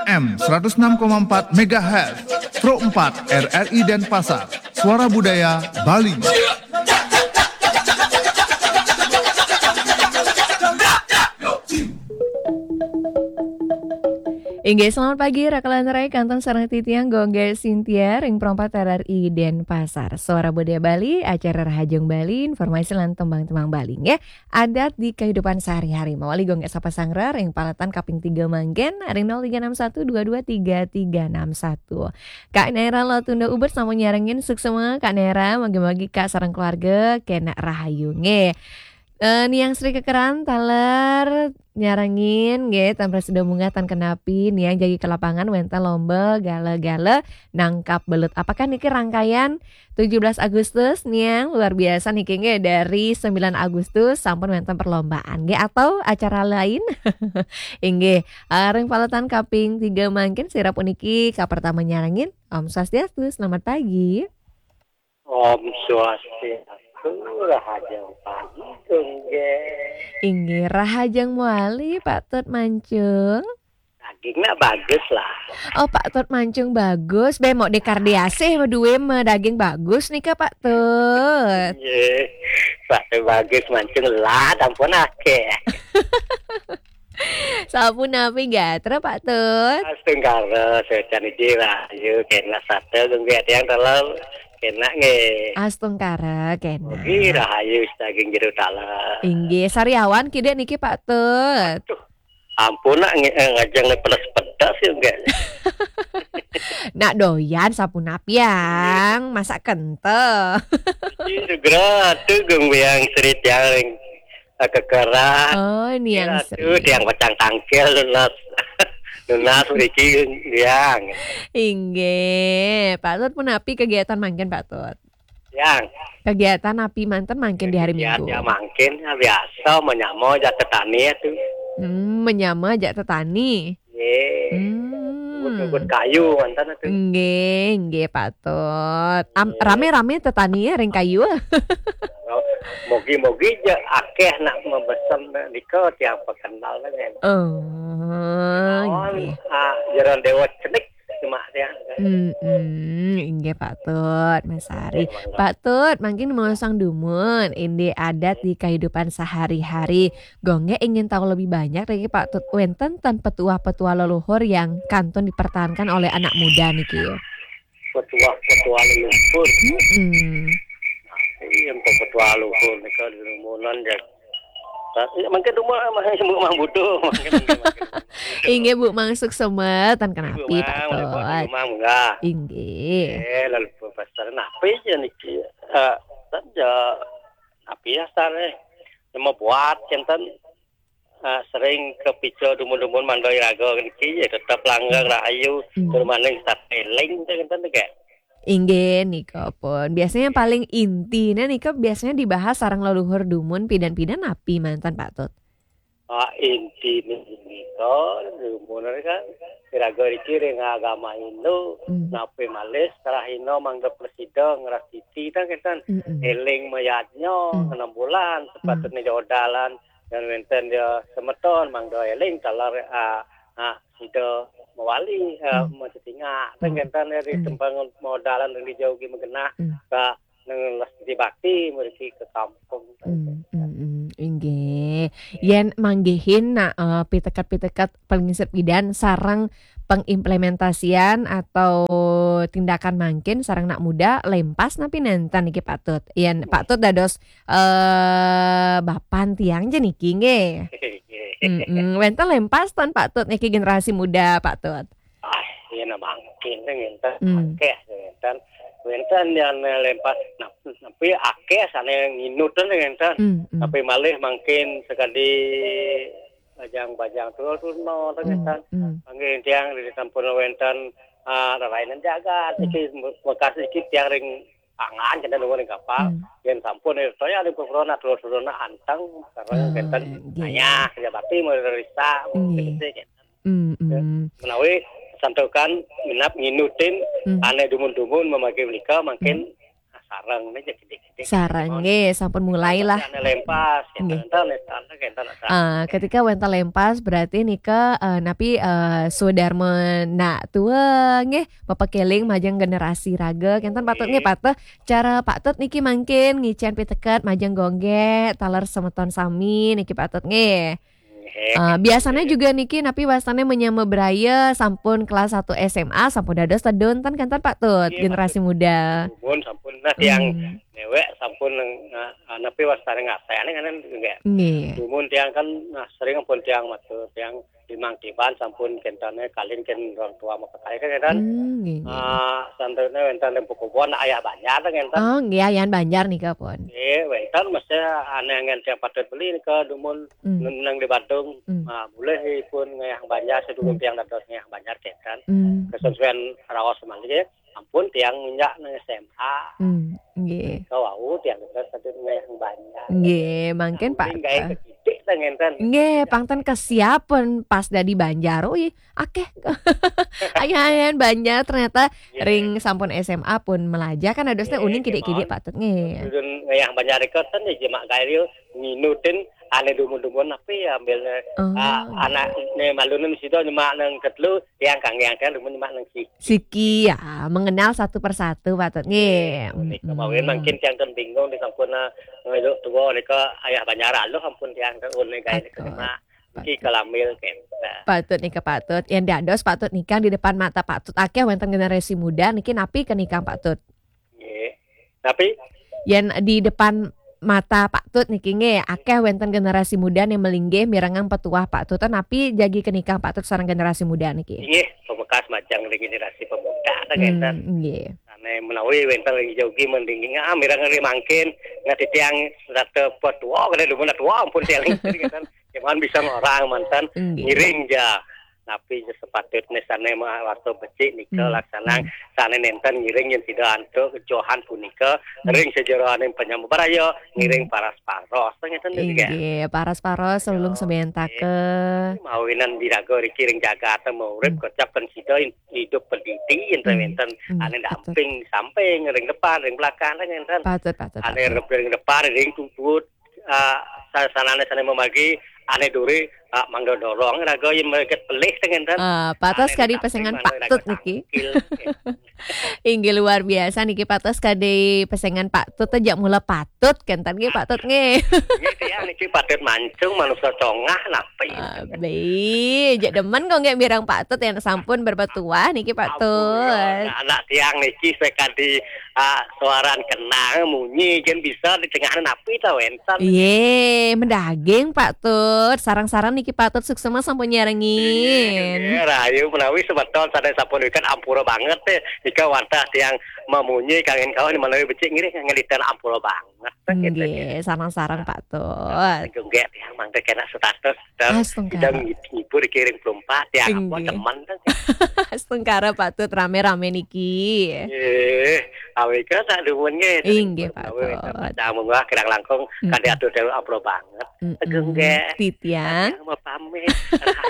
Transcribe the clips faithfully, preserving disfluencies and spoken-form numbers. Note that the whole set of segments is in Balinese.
M seratus enam koma empat megahertz, Pro empat R R I Denpasar, Suara Budaya Bali. Inggih, selamat pagi, Raka lan Rai, kantun sareng titiang Gung Gé Sintia, ring Pro empat R R I Denpasar. Suara Budaya Bali, acara Rahajeng Bali, informasi lan tembang-tembang Bali, nggih. Adat di kehidupan sehari-hari. Mawali Gung Gé sapa sangra, ring paletan kaping tiga mangkin, ring nol tiga enam satu dua dua tiga tiga enam satu. Kak Nera Lotunda Ubud sampun nyarengin, suksma, Kak Nera, mugi-mugi Kak sareng keluarga kénak rahayu, nggih. Eh, Niang Sri Kekeran taler nyarengin, nggih, tan prasida munggah tan kenapi, Niang jagi ke lapangan wénten lomba gala-gala nangkap belut. Apakah niki rangkaian tujuh belas Agustus, Niang? Luar biasa niki, nggih, dari sembilan Agustus sampun wénten perlombaan, nggih, atau acara lain? Inggih, eh, ring paletan kaping tiga mangkin sira puniki kapertama nyarengin. Om Swastiastu, selamat pagi. Om Swastiastu, rahajeng pagi, Gung Gé. Inggih, rahajeng mawali, Pak Tut Mancung. Dagingnya bagus lah. Oh, Pak Tut Mancung bagus. Bé, mok dekardiasih, duwe me daging bagus nika, Pak Tut. Nggih. Pak Tut bagus, Mancung lah, ampun akéh. Sapunapi gatra, Pak Tut? Astungkara, secan iki rahayu, kénak sata, Gung Gé, tiang taler, kénak nggih. Astungkara, kénak. Mugi rahayu daging jero taler. Inggih, sariawan kidik niki, Pak Tut. Aduh, ampun nak nge-, eh, ngajeng pedas-pedas ya, nggih. Nak doyan sapunapi, Yang? Masak kental. Iki segera tuh, Gung Biang, Sri Tiang ring, eh, Kekeran. Oh, Niang Sri. Tiang pacang tangkil nunas. Nunas mriki, Yang. Inggih. Pak Tut punapi kegiatan mangkin, Pak Tut? Yang. Kegiatan napi manten mangkin di hari Minggu? Ya, mangkin, ya, biasa, menyama jak tetani ya tuh. Hmm, menyama jak tetani. Nggih. Hmm. Ngebut-ngebut kayu manten tuh. Nggih, nggih, Pak Tut. Am-, nggih. Rame-rame tetani ya ring kayu. Mugi-mugi ja akéh nak mabesen nika tiang pakental kan. Oh, naon, nggih. Ah, Jero Dewa cenik cuma tiang. Mm-mm, inggih, Pak Tut, Mas Ari. Nggih, mangga. Pak Tut, mangkin maosang dumun, indik adat di kehidupan sehari-hari. Gung Gé ingin tahu lebih banyak niki, Pak Tut, wénten ten petuah-petuah leluhur yang kantun dipertahankan oleh anak muda niki? Petuah-petuah leluhur. Mm-mm. Iya, petuah leluhur nika di rumunan ya. Iya, mangkin rumah, mangkin Bu Mang Butuh, mangkin, mangkin, mangkin. Inggih, Bu Mang suksma, tan kenapi, Pak Tut. Bu Mang, Bu Mang, munggah. Inggih. Eh, lalu pasar napi ya niki? Eh, saja napi ya, Star, eh? Nama buat, kenten? Ah, sering kepica dumun-dumun mangda iraga niki, ya, tetep langgeng, hmm, rahayu, hmm, tur maning sateling, kenten, nggih. Inggih, nika pun. Biasanya paling intiné nika biasanya dibahas sareng leluhur dumun pidan-pidan napi manten, Pak Tut? Ah, intiné nika dumun kan iraga niki ring agama Hindu, hmm, napi malih sarahina mangda prasida ngrastiti ta kenten. Mm-mm. Éling mayadnya, mm, enam bulan, hmm, sepatutnya jodalan. Yan wénten ya semeton mangda éling taler, ah, ah, sida mawali, ah, hmm, macetingak. Ten, hmm, kenten ya, hmm, ditempang modalan ring dijauh ugi magenah, hmm, ka nang les bakti mriki ke kampung. Hmm, hmm, hmm. Inggih. Nggih. Yén manggihin nak, eh, piteket-piteket panglingsir pidan sareng pengimplementasian atau tindakan mangkin sareng nak muda lempas napi nénten niki, Pak Tut? Yén Pak Tut dados eh, bapan tiang ja niki, nggih. Nggih. Mm-mm. Wénten lempas ten, Pak Tut, niki generasi muda, Pak Tut? Ah, iya, nah, mangkin téh ngénten, hmm, akéh ngénten. Wénten yang lempas, nah, tapi akéh sané nginut téh ngénten. Hmm, hmm. Tapi malih mangkin sakadi bajang-bajang turun-turun téh, hmm, ngénten. Hmm. Mangkin tiang di sampun wénten, ah, rerainan jagat, hmm, iki bekas iki tiang ring pangan, kenten nuwun ring kapal. Hmm. Yén sampun, eh, saya ring purana, turun-turun anteng, sareng, ah, kenten, nggih, ayah, kerja bakti, mulai risa, nggih, kenten, kenten. Hmm, ya, hmm. Menawi santukan minab nginutin, hmm, ané dumun-dumun mamagi menika, mangkin, hmm, sareng nih, jadi gede-gede. Sareng, nggih, sampun mulai lah. Ane lempas, nggih. Enten, enten, enten, enten. Ah, ketika wénten lempas, berarti nika, eh, napi, eh, Sudarma nak tua, nggih, mapakéling majeng generasi raga, kénten Patut, nggih, nggih. Patut. Cara Patut niki mangkin ngicén piteket majeng gonggé, taler semeton sami niki Patut, nggih. Nggih, eh, biasanya nggih. Juga niki napi wastané menyama braya sampun kelas satu S M A sampun dados tedun ten kénten Patut, nggih, generasi Patut. Muda. Dumun sampun, nah, tiang hmm. Néwék sampun, nah, napi wastané ngasih, ané nganen nggih. Nggih. Dumun tiang kan, nah, sering pun tiang matur, tiang limang tiban sampun kéntené kalin kén orang tua makakai kan kénten. Hmm, nggih, nggih. Ah, santrine wénten ring Pukubon, Ayah Banjar kénten. Oh, nggih, Ayah Banjar nika pun. Nggih, wénten mesti ané anggen tiang Patut beli nika dumun Hmm. Nang di Badung, hmm. Ah, boleh pun ngayah Banjar, sedulur hmm. Tiang dados ngayah Banjar kénten. Hmm. Kesesuaian raos malih, ampun tiang minjak nang S M A. Hmm, nggih. Kawau tiang dados sadurung ngayah Banjar. Nggih, mangkin nah, Pak. Mungkin gaé ketitik ta ngénten. Nggih, pang ten kesiapan pas dadi Banjar. Ui, akéh. Ayah-ayahan Banjar ternyata nggih. Ring sampun S M A pun melajah kan adosnya nggih, uning kidik-kidik nggih, Patut nggih. Sedurung ngayah Banjar nika ten ya jemak gaé nginutin ané dumun-dumun napi ya ambilnya. Oh. Ah, anak né malunan sida nyemak nang ketelu, tiang kang yang kan dumun nyemak nang siki. Siki ya, mengenal satu persatu Patut nggih. Nika mawin mangkin tiang ten bingung di sampun, ah, ngeluk tua nika Ayah Banjar aluh ampun tiang ten uning gaé nika Patut. Nyemak. Niki Patut. Kelambil kénten. Patut nika Patut. Yang dados Patut nika di depan mata Patut akéh wénten generasi muda niki napi kenikang Patut? Nggih. Tapi yen di depan mata Patut niki nggih, akéh wénten generasi muda ning melinggih mirengang petuah Patut, napi jagi kenikang Patut sareng generasi muda niki? Inggih, pamekas majeng ring generasi pemuda ta hmm, kénten. Nggih. Ané menawi wénten ring jogi mending ah mireng ring mangkin, nggih titiang serata petuah kena dumun tua ampun tiang ring kénten. Cuman bisa ngorang manten nggih. Ngiring ja. Napi sepatutnya sané ma-, warta becik nika hmm. Laksanang hmm. Sané nénten ngiring yen sida antuk kejohan punika hmm. Ring sajeroning penyambar ayo ngiring hmm. Paras-paros. Ngéten nggih. Inggih, paras-paros selulung sembayantaka. Mawinan diraga riki ring jagat urip hmm. Kocap kan sida in-, hidup pendidi yen hmm. Wénten hmm. Ané betul. Damping samping ring depan ring belakang ngénten. Patut, patut, ané patut. Ring depan ring tutut ah, sa-, sanané sané memagi ané duri ah, mangga dorong raga yen meleget pelih ten ngénten. Ah, Patut kadi pesengan Patut niki. Inggih luar biasa niki Patut kadi pesengan Patut aja mula Patut kénten nggih Patut nggih. Nggih tiang niki Patut mancung manusa congah napi. Abi, jak demen kok nggih mireng Patut yang sampun berpetuah niki Patut. Ampun, ya. Anak tiang niki sekadi ah, suaran kenang munyi kan bisa di tengah napi ta wénten. Iye, mendaging Patut. Sarang-sarang niki Patut suksma sampun nyarengin. Iye, rahayu menawi semeton sané sampun wikan ampura banget téh. Nika wantah tiang mamunyi kangin kawan menawi becik ngiring ngeliten ampura banget. Nggih, sarang-sarang Patut. Nggih, tiang mangke kena status. Astungkara. Kita ngibur kiring pelumpat ya apa teman kan. Astungkara Patut rame-rame niki. Eh, awika tak dumun nggih. Inggih Patut. Tamu wah kirang langkung kade atur dewe apro banget. Genggek. Titiang. Mau pamit.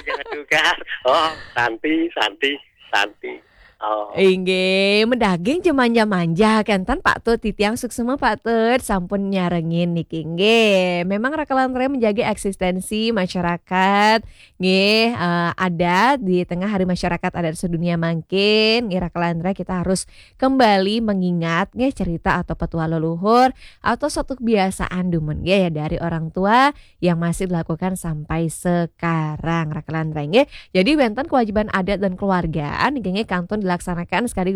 Jangan juga. Oh, santi, santi, santi. Oh. Inggih, mendaging jemanja-manja kenten Patut titiang suksma Patut sampun nyarengin niki. Inggih, memang Raka lan Raya menjaga eksistensi masyarakat. Nggih, eh, adat di tengah Hari Masyarakat Adat Sedunia mangkin, nggih Raka lan Raya kita harus kembali mengingat nggih cerita atau petuah leluhur atau suatu kebiasaan dumun nggih ya dari orang tua yang masih dilakukan sampai sekarang Raka lan Raya nggih. Jadi wenten kewajiban adat dan keluargaan nggih kantun dilaksanakan sekali